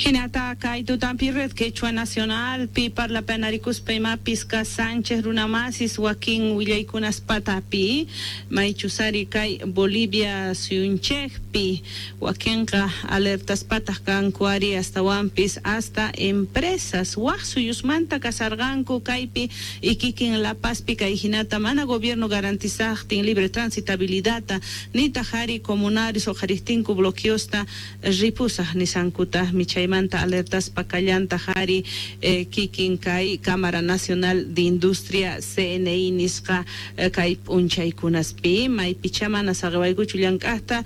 Hinata kay tutampi Red Quechua Nacional pi parlapanarikuspa imapis ka Sánchez runamasis wakin willaykunas patapi maychusari kay Bolivia suyunchikpi wakinqa alertaspataq kanku ari astawanpis hasta empresas waq suyusmanta kasarqanku kaypi ikikin La Pazpi kay hinata mana gobierno garantizaqtin libre transitabilidadta nitaq ari comunarios uqharistinku bloqueosta ripusaq nisankutaqmi chaymanta alertaspa kallantaq ari kikin kay Cámara Nacional de Industria CNI nisqa kay p'unchaykunaspi maypicha mana saqiwaykuchu llank'aqta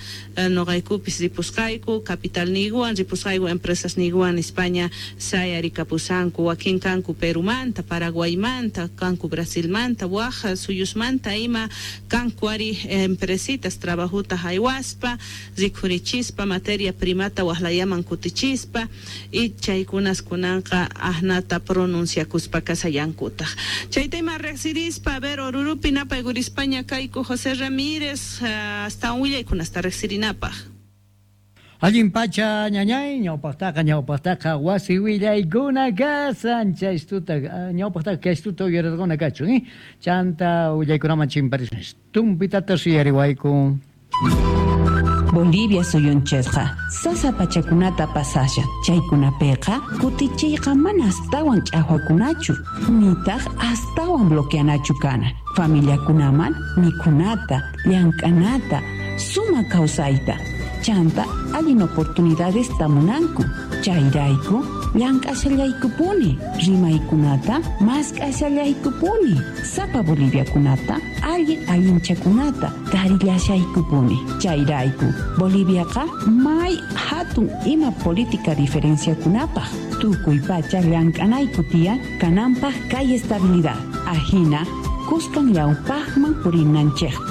nuqaykupis ripusqayku capitalniykuwan ripusqayku empresasniykuwan España sayarikapusanku wakin kanku Perumanta, Paraguaymanta, kanku Brasilmanta, waq suyusmanta ima kanku ari empresitas trabajuta haywaspa rikhurichispa materia primata waqlayaman kutichispa y chaykunas kunanqa aqnata pronunciakuspa kasallankutaq chayta ima riqsirispa a ver Orurupi napaykurispaña kayku José Ramírez astawan willaykunasta riqsirinapaq. Allin pacha ñañay, ñawpaqtaqa ñawpaqtaqa wasi willaykuna kasan chaystuta ñawpaqtaqa kaystuta uyarirquna kachun, eh? Chanta willaykunaman chimparisun. Tumpitata suyariwayku. Bolivia suyunchikqa sasa pachakunata pasashan, chaykunapiqa kutichiyqa mana astawan ch'aqwakunachu, nitaq astawan bloqueanachu kana, familiakunaman mikhunata, llank'anata, sumaq kawsayta, chanta allin oportunidades munanku, chayrayku llank'ashallaykupuni, rimaykunata mask'ashallaykupuni, sapa boliviakunata allin allinchakunata tarillashaykupuni, chayrayku Boliviaqa may hatun ima política diferenciakunapaq, tukuy pacha llank'anayku tiyan kananpaq kay estabilidad, ahina kuskan ñawpaqman purinanchikpaq.